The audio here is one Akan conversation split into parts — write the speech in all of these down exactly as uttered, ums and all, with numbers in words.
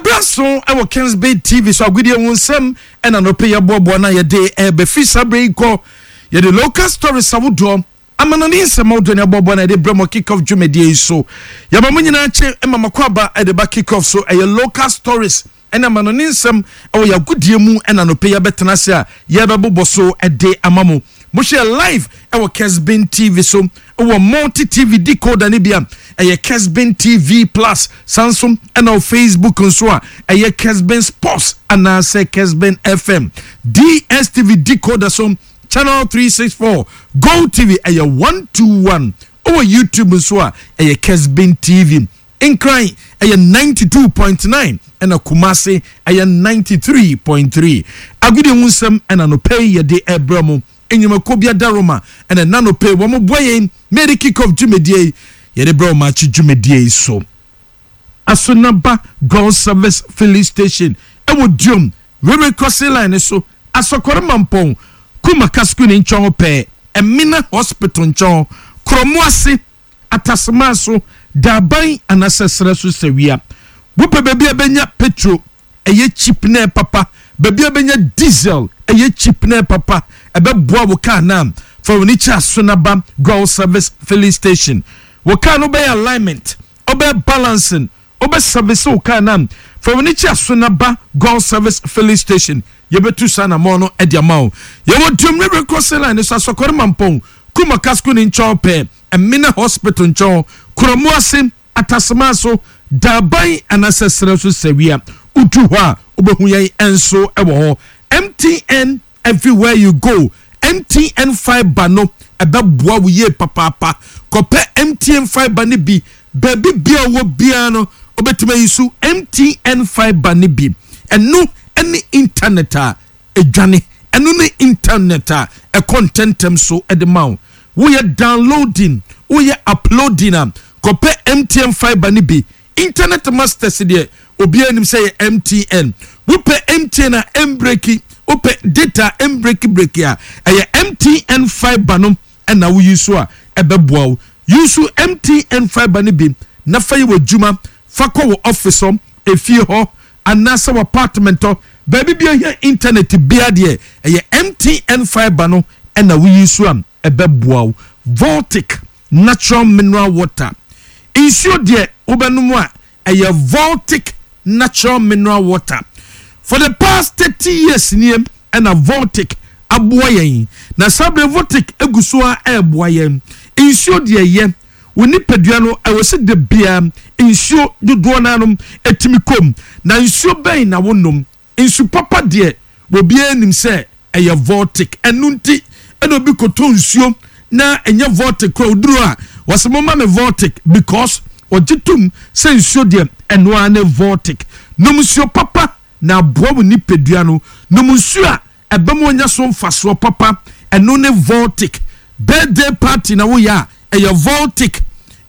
Ɛberɛ so ɛwɔ Kensbay T V so, agodie wo nsɛm ɛna nɔpɛ yɛboaboa no a yɛde ɛbɛfiri saa berɛ yi kɔ. Yɛde local stories ahodoɔ, amanane nsɛm ahodoɔ ne aboaboa no yɛde brɛ mɔ kick off dwumadie yi so. Yɛma mo nyinaa kye ma makɔ aba ɛde ba kick off so. Ɛyɛ local stories ɛne amanane nsɛm ɛwɔ yɛagodie mu ɛna nɔpɛ yɛbɛtena ase a yɛbɛbobɔ so ɛde ama mo. Mohwɛ live ɛwɔ Kesbin T V so, ɛwɔ Multi T V decoder ne bi a ɛyɛ Kesbin T V Plus sanso, ɛna wɔ Facebook nso a ɛyɛ Kesbin Sports anaasɛ Kesbin F M. D S T V decoder so, channel three sixty-four, Go T V ɛyɛ one two one. Ɛwɔ YouTube nso a ɛyɛ Kesbin T V. Nkran ɛyɛ ninety-two point nine, ɛna Kumase ɛyɛ ninety-three point three. Agudie ho nsɛm ɛna nɔpɛ yi yɛde ɛbrɛ mu. Enyimako bi adaroma ɛna nanopɛ wɔn bɔ yɛn mary kick off dwumadie yi yɛde brɛ wɔn akyi dwumadie yi so. Asonaba Goil Service Filling Station ɛwɔ Duom railway crossing line so, Asɔkɔrɔ Mampɔn Kumaka School ne nkyɛn pɛɛ, Ɛmina Hospital nkyɛn, Kuromu ase Atasema so Daban anaasɛ serɛ so sɛwia. Wopɛ baabi a bɛnya petrol ɛyɛ cheap na papa, baabi a bɛnya diesel ɛyɛ cheap na papa, ɛbɛboa wo kaa na fa wɔn ani kyɛ Asonaba Goil Service Filling Station. Wo kaa no bɛyɛ alignment, ɔbɛyɛ balancing, ɔbɛ service wo kaa na fa wɔn ani kyɛ Asonaba Goil Service Filling Station. Yɛbɛtu saa namɔ no ɛde ama wo. Yɛwɔ Duom railway crossing line so, Asɔkɔre Mampɔn Kumaka School ne nkyɛn pɛɛ, Ɛmina Hospital nkyɛn, Kuromu ase Atasema so Daban anaasɛ serɛ so sɛwia. Wodu hɔ a wobɛhu yɛn nso wɔ hɔ. M T N, everywhere you go. M T N fibre no ɛbɛboa wo yie papaapa. Kɔpɛ M T N fibre no bi. Baabi bia wɔ biara no, wobɛtumi ayi so M T N fibre no bi. Ɛno ne internet a ɛdwane, ɛno ne internet a ɛkɔ ntɛntɛm so de ma wo. Woyɛ downloading, woyɛ uploading a, kɔpɛ M T N fibre no bi. Internet masters deɛ, obiara nim sɛ yɛ M T N. Wopɛ M T N a ɛmbreak, wopɛ data ɛmbreak break a, ɛyɛ M T N fibre no ɛna woyi so a ɛbɛboa wo. Use M T N fibre no bi na fa yi wɔ adwuma, fa kɔ wɔ office hɔ, efie hɔ anaasɛ wɔ apartment hɔ, baabi bi ahia internet bia deɛ, ɛyɛ M T N fibre no ɛna woyi so a ɛbɛboa wo. Voltic Natural Mineral Water, nsuo deɛ wobɛnom a ɛyɛ Voltic Natural Mineral Water. For the past thirty years nie ɛna Voltic aboa yɛn, na saa bere Voltic egu so a ɛreboa yɛn. Nsuo deɛ yɛ wo nipadua no, ɛwɔ sɛ de bia nsuo dodoɔ nanom etimi kom. Na nsuo bɛn na wonom? Nsu papa deɛ, obiara nim sɛ ɛyɛ Voltic. Ɛno nti ɛna obi koto nsuo na ɛnyɛ Voltic kora oduro a wɔsɛ mo ma me Voltic, because ɔgye tom sɛ nsuo deɛ, ɛnoa ne Voltic. Nom nsuo papa na aboa wo nipadua no. Nom nsuo a ɛbɛn onya so mfasoɔ papa, ɛno ne Voltic. Birthday party na woyɛ a, ɛyɛ Voltic.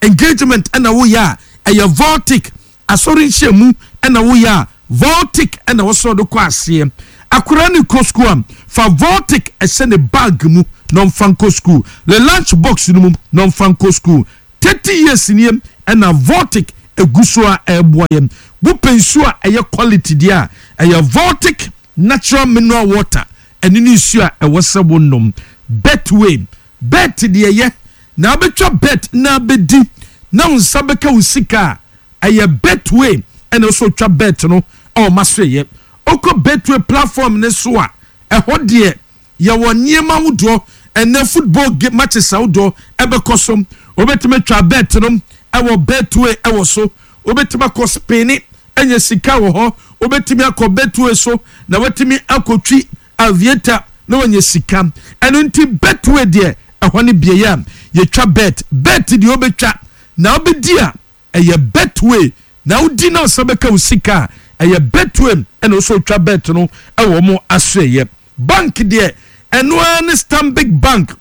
Engagement ɛna woyɛ a, ɛyɛ Voltic. Asɔre nhyiamu ɛna woyɛ a, Voltic ɛna wɔsɔ de kɔ aseɛ. Akwaraa ne kɔ school a, fa Voltic ɛhyɛ ne bag mu na ɔmfa nkɔ school, le lunch box no mu na ɔmfa nkɔ school. Thirty years nie ɛna Voltic egu so a ɛreboa yɛn. Wopɛ nsuo a ɛyɛ quality deɛ a, ɛyɛ Voltic Natural Mineral Water. Ɛne ne nsuo a ɛwɔ sɛ wonom. Betway bet deɛ yɛ na abɛtwa bet na abɛdi na wo nsa bɛka wo sika a, ɛyɛ Betway ɛna nso twa bet no ɛwɔ ma so. Yɛ okɔ Betway platform ne so a, ɛhɔ deɛ yɛwɔ nneɛma ahodoɔ. Ɛnɛ football game matches ahodoɔ ɛbɛkɔ so, wobɛtumi atwa bet no ɛwɔ Betway ɛwɔ so. Wobɛtumi akɔ spin ɛnyɛ sika wɔ hɔ. Wobɛtumi akɔ Betway so na watumi akɔtwi aviator na wanya sika. Ɛno nti Betway deɛ, ɛhɔ ne beaeɛ a yɛtwa bet. Bet deɛ wobɛtwa na wobɛdi a, ɛyɛ Betway. Na wodi na ɔsa bɛka wo sika a, ɛyɛ Betway ɛna wosɛ wotwa bet no ɛwɔ mo asoɛyɛ. Bank deɛ, ɛno ara ne Stanbic Bank.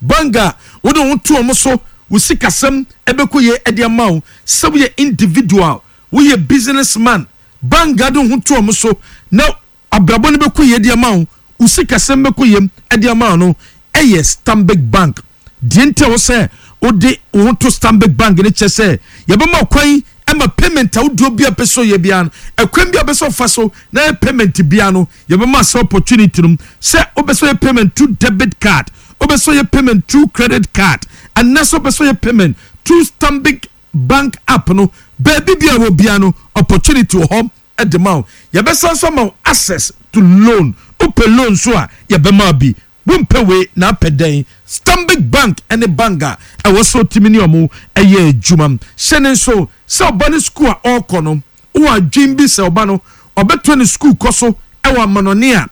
Bank a wode wo to ɔmo so, wo sikasɛm ɛbɛkɔ yie ɛde ama wo. Sɛ woyɛ individual, woyɛ businessman, bank a de wo ho to ɔmo so na abrabɔ no bɛkɔ yie de ama wo, wo sikasɛm bɛkɔ yie ɛde ama wo no, ɛyɛ Stanbic Bank. Deɛ nti a wo sɛ wode wo ho to Stanbic Bank ne kyɛ sɛ yɛbɛma kwan Ɛma payment ahodoɔ bi a pɛ sɛ ɔyɛ biara no, ɛkwan bi a pɛ sɛ ɔfa so na yɛ payment biara no, yɛbɛma sɛ opportunity no sɛ wobɛ sɛ ɔyɛ payment through debit card, wobɛ sɛ ɔyɛ payment through credit card, anaasɛ wobɛ sɛ ɔyɛ payment through Stanbic Bank app no, baabi bi a wɔ biara no, opportunity wɔ hɔ ɛde ma wo. Yɛbɛsan so ama wo access to loan. Wopɛ loan so a, yɛbɛma bi. Wompɛ wei na apɛ dɛn? Stanbic Bank ne bank a ɛwɔ sɛ ɔtumi ne ɔmo ɛyɛ adwuma. Hyɛ ne nso sɛ ɔba no sukuu a ɔrekɔ no, wowɔ adwen bi sɛ ɔba no ɔbɛtɔ ne sukuu kɔ so ɛwɔ amanɔne a,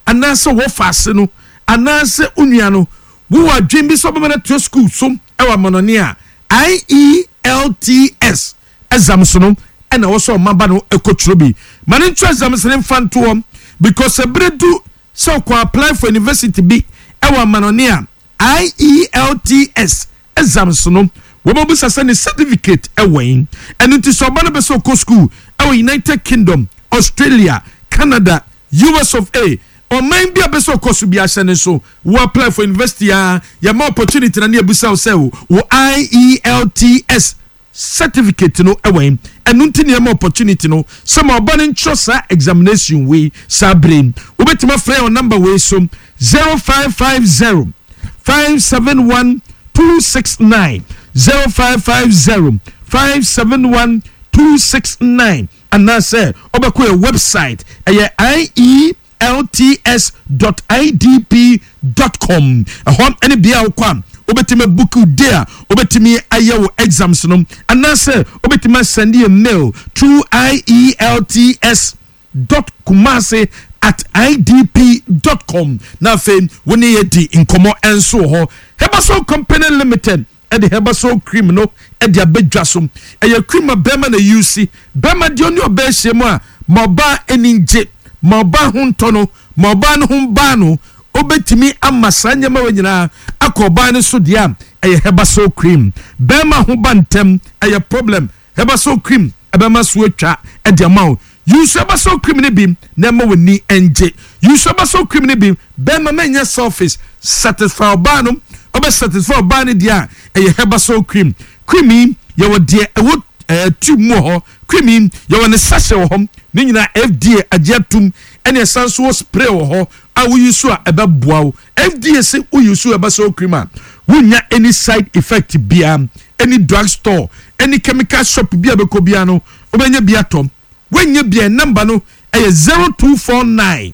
anaasɛ wɔfa ase no, anaasɛ onua no wowɔ adwen bi sɛ ɔbɛma no atoa sukuu so ɛwɔ amanɔne a, I E L T S exams no ɛna ɛwɔ sɛ ɔma ba no ɛkɔtwerɛ bi. Ma ne ntwerɛ exams ne mfa ntoɔ, because ɛberɛ du sɛ ɔkɔ apply for university bi ɛwɔ amanɔne a, I E L T S exams no, wɔbɛbusa sɛ ne certificate ɛwɔ yi. Ɛno nti sɛ ɔba no bɛ sɛ ɔkɔ school ɛwɔ United Kingdom, Australia, Canada, U S of A, ɔman bi a bɛ sɛ ɔkɔ so bi, ahyɛ ne so wo apply for university a, yɛma opportunity na ne yɛbusa wo sɛ wo I E L T S certificate no ɛwɔ yi. Ɛno nti nneɛma opportunity no sɛ ma ɔba no ntwerɛ saa examination wei saa bere yi. Wobɛtumi afrɛ yɛn number wei so: zero five five zero five seven one two six nine, zero five five zero five seven one two six nine, anaasɛ ɔbɛkɔ yɛ website, ɛyɛ I E L T S dot I D P dot com. Ɛhɔ ɛne bea a wokɔ a wobɛtumi book day a wobɛtumi ayɛ wo exams no, anaasɛ wobɛtumi asend yɛ mail through I E L T S dot kumase at I D P dot com, na afei wo ne yɛ di nkɔmmɔ nso wɔ hɔ. Herbasol Company Limited ɛde Herbasol cream no ɛde abɛdwa so. Ɛyɛ cream a bɛrima na use. Bɛrima deɛ, ɔne ɔbaa ahyia mu a, ma ɔbaa ani ngye, ma ɔbaa ho ntɔ no, ma ɔbaa no ho baa no, wobɛtumi ama saa nneɛma wɔ nyinaa akɔ ɔbaa no so deɛ a, ɛyɛ Herbasol cream. Bɛrima ho ba ntɛm ɛyɛ problem, Herbasol cream ɛbɛma so atwa ɛde ama wo. Use Herbasol cream no bi na ɛma w'ani ngye. Use Herbasol cream no bi. Bɛrima, mɛnyɛ selfish, satisfy ɔbaa no. Ɔbɛ satisfy ɔbaa no deɛ a, ɛyɛ Herbasol cream. Cream yi, yɛwɔ deɛ ɛwɔ ɛɛ tube mu wɔ hɔ. Cream yi, yɛwɔ ne sachet wɔ hɔ. Ne nyinaa F D A agye atum. Ɛna ɛsan so wɔ spray wɔ hɔ a woyi so a ɛbɛboa wo. F D A sɛ woyi so Herbasol cream a, wonya any side effect biara. Any drug store, any chemical shop bi a bɛkɔ biara no, wobɛnya bi atɔ. Woanya bia, number no ɛyɛ zero two four nine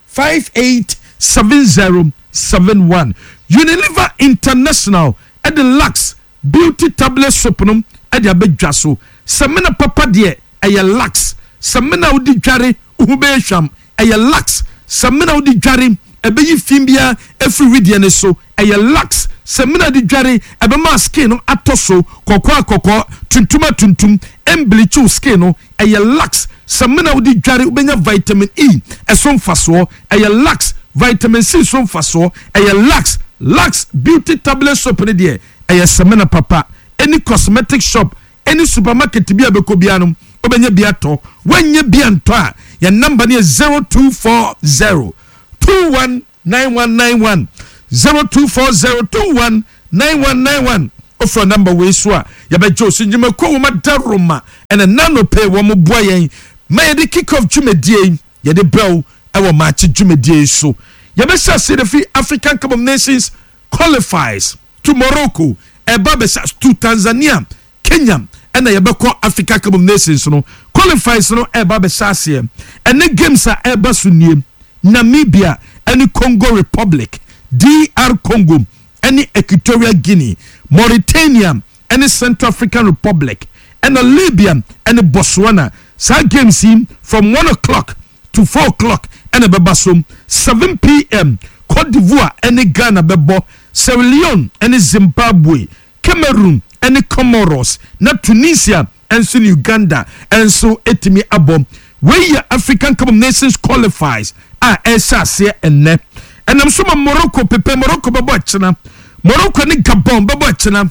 five eight seven zero seven one. Unilever International ɛde Lux Beauty tablet soap no ɛde abɛdwa so. Sɛmina papa deɛ, ɛyɛ Lux. Sɛmina wodi dware wohu bɛyɛ hwam, ɛyɛ Lux. Sɛmina wodi dware ɛbɛyi fi biara efiri wideɛ ne so, ɛyɛ Lux. Sɛmina di dware ɛbɛma skin no atɔ so kɔkɔɔ akɔkɔɔ, tuntum a tuntum, ɛmbleach skin no, ɛyɛ Lux. Sɛmina wodi dware wobɛnya vitamin E ɛso mfasoɔ, ɛyɛ Lux. Vitamin C so mfasoɔ, ɛyɛ Lux. Lux Beauty tablet soap ne deɛ, ɛyɛ sɛmina papa. Any cosmetic shop, any supermarket bi a bɛkɔ biara no, wobɛnya bi atɔ. Woanya bi antɔ a, yɛn number no yɛ zero two four zero two one nine one nine one, zero two four zero two one nine one nine one. Wofrɛ number wei so a, yɛbɛgye wo so. Nnwumakuo wɔ ma daroma ɛna nano pay wɔ mo boa yɛn ma yɛde kick off dwumadie yi yɛde brɛw ɛwɔ maakye dwumadie yi so. Yɛbɛhyɛ ase de fi African Cup of Nations qualifiers to Morocco, ɛba bɛhyɛ to Tanzania, Kenya, ɛna yɛbɛkɔ Africa Cup of Nations no qualifiers no ɛba bɛhyɛ aseɛ. Ɛne games a ɛba so nie: Namibia ɛne Congo Republic, D R Congo ɛne Equatorial Guinea, Mauritania ɛne Central African Republic, ɛna Libya ɛne Botswana. Saa games yi, from one o'clock to four o'clock ɛna ɛbɛba so. seven p m, Cote d'Ivoire ɛne Ghana bɛbɔ, Sierra Leone ɛne Zimbabwe, Cameroon ɛne Comoros, na Tunisia ɛnso ne Uganda ɛnso ɛtumi abɔ. Wei yɛ African Cup of Nations qualifiers a ɛhyɛ aseɛ ɛnnɛ. Ɛnam so ma Morocco pepe Morocco bɛbɔ ɛkyena. Morocco ne Gabon bɛbɔ ɛkyena.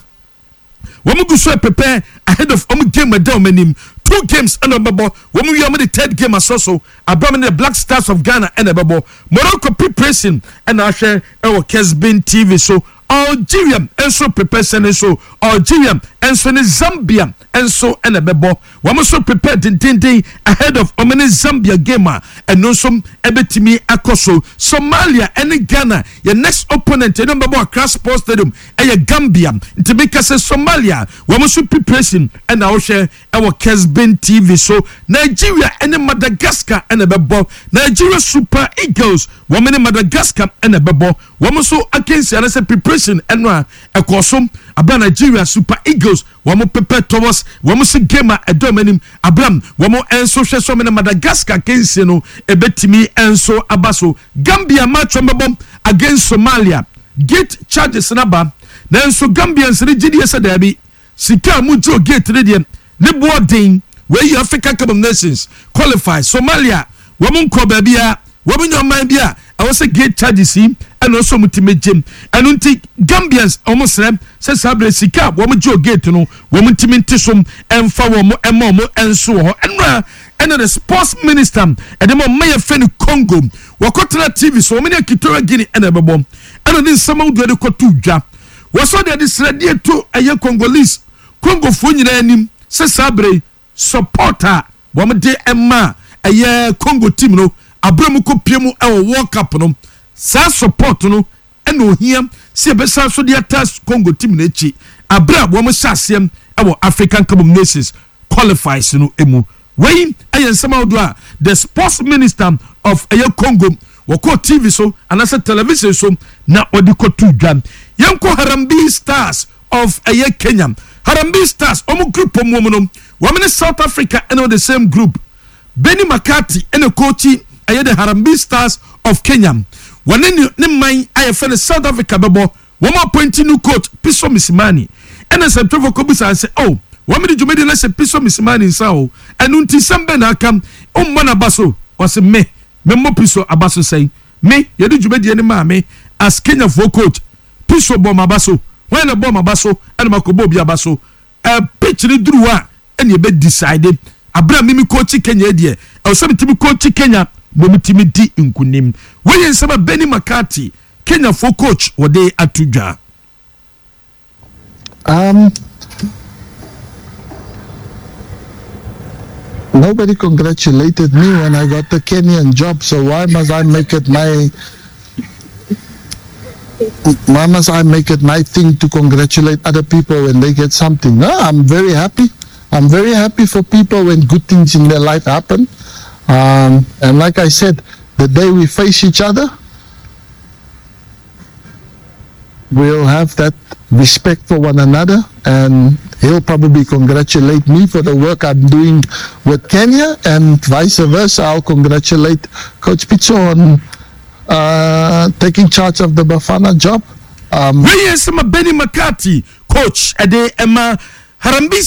Wɔn gu so prepare ahead of wɔn game ɛda wɔn anim. Two games ɛna wɔbɛbɔ. Wɔn wie, wɔn de third game asɔ so abam ne the Black Stars of Ghana ɛna ɛbɛbɔ. Morocco preparation ɛna ahwɛ ɛwɔ Kesbin T V so. Algeria nso prepare sɛ ne nso Algeria nso ne Zambia nso ɛna ɛbɛbɔ. Wɔn nso prepare dendenden ahead of wɔn ne Zambia game a ɛno nso ɛbɛtumi akɔ so. Somalia ɛne Ghana, yɛ next opponent, ɛno bɛbɔ Accra Sports Stadium, ɛyɛ Gambia. Nti mi ka sɛ Somalia wɔn nso preparation ɛna ɔhwɛ ɛwɔ Kesben T V so. Nigeria ɛne Madagascar ɛna ɛbɛbɔ. Nigeria Super Eagles wɔn ne Madagascar ɛna ɛbɛbɔ. Wɔn nso akansi anasɛ preparation ɛno a ɛkɔ so abira Nigeria Super Eagles wɔn prepare towards wɔn si game a ɛdɔm anim abram. Wɔn nso hwɛ so wɔn ne Madagascar akansi no ɛbɛtumi nso aba so. Gambia match wɔn bɛbɔ against Somalia, gate charges naba, nanso Gambians ne gyidie sɛ daabi, sika a mo gye o gate ne deɛ ne boɔ den. Wei Africa Cup of Nations qualify, Somalia wɔn nkɔ baabi a wɔn nyɛ ɔman bi a ɛwɔ sɛ gate charges yi ɛna ɔsɔ wɔn ti mɛ gyem. Ɛno nti Gambians wɔn srɛ sɛ saa abirɛ sika a wɔn gye o gate no, wɔn ntumi nte so ɛnfa wɔn ɛma wɔn nso wɔ hɔ. Ɛnura ɛna the sports minister ɛde ma ɔmo yɛ fɛ ne Congo wɔkɔtena T V so, wɔn ne Equatorial Guinea ɛna ɛbɛbɔ, ɛna ne nsɛm ahodoɔ de kɔto dwa. Wɔsɔ de ɛde srɛdeɛ to ɛyɛ Congolese, Congofoɔ nyinaa anim sɛ saa abirɛ support a wɔn de ɛma ɛyɛ Congo team no abere mu kɔ pie mu ɛwɔ World Cup no, saa support no ɛna ohia sɛ yɛbɛsan so de ata Congo team n'akyi abere a wɔn hyɛ aseɛ ɛwɔ African Cup of Nations qualifiers no mu. Wei ɛyɛ nsɛm ahodoɔ a the sports minister of ɛyɛ Congo wɔkɔ T V so anaasɛ television so na ɔde kɔto dwa. Yɛnkɔ Harambee Stars of ɛyɛ Kenya. Harambee Stars wɔn group mu mu no, wɔn ne South Africa ɛna the same group. Benny McCarthy ɛna coach ɛyɛ the Harambee Stars of Kenya. Wɔne ne ne man a yɛfrɛ no South Africa bɛbɔ. Wɔn appoint new coach Pitso Mosimane, ɛna nsɛmtwerɛfoɔ kɔbisa sɛ, oh, wɔn de dwumadi no hyɛ Pitso Mosimane nsa o, ɛno nti sɛm bɛ na aka ɔmmɔ n'aba so? Wɔsi me memmɔ Pitso aba so sɛn? Me yɛde dwumadie no maa me as Kenyafoɔ coach, Pitso bɔ m'aba so? Wɔn na bɔ m'aba so ɛna ma kɔ bɔ obi aba so? Ɛɛ pitch ne duru hɔ a ɛna yɛbɛ decide. Abira mimi coach Kenya deɛ, ɛwɔ sɛ mi coach Kenya na ɔmo timi di nkunim. Wɔyɛ nsɛm a Benny McCarthy, Kenyafoɔ coach, wɔde ato dwa. Um, nobody congratulated me when I got the Kenyan job, so why must I make it my why must I make it my thing to congratulate other people when they get something? No, I'm very happy. I'm very happy for people when good things in their life happen. Um, and like I said, the day we face each other, we'll have that respect for one another, and he'll probably congratulate me for the work I'm doing with Kenya, and vice versa. I'll congratulate Coach Pitso on uh, taking charge of the Bafana job. Um, Wei yɛ nsɛm a Benny McCarthy, coach ɛde ɛma Harambee.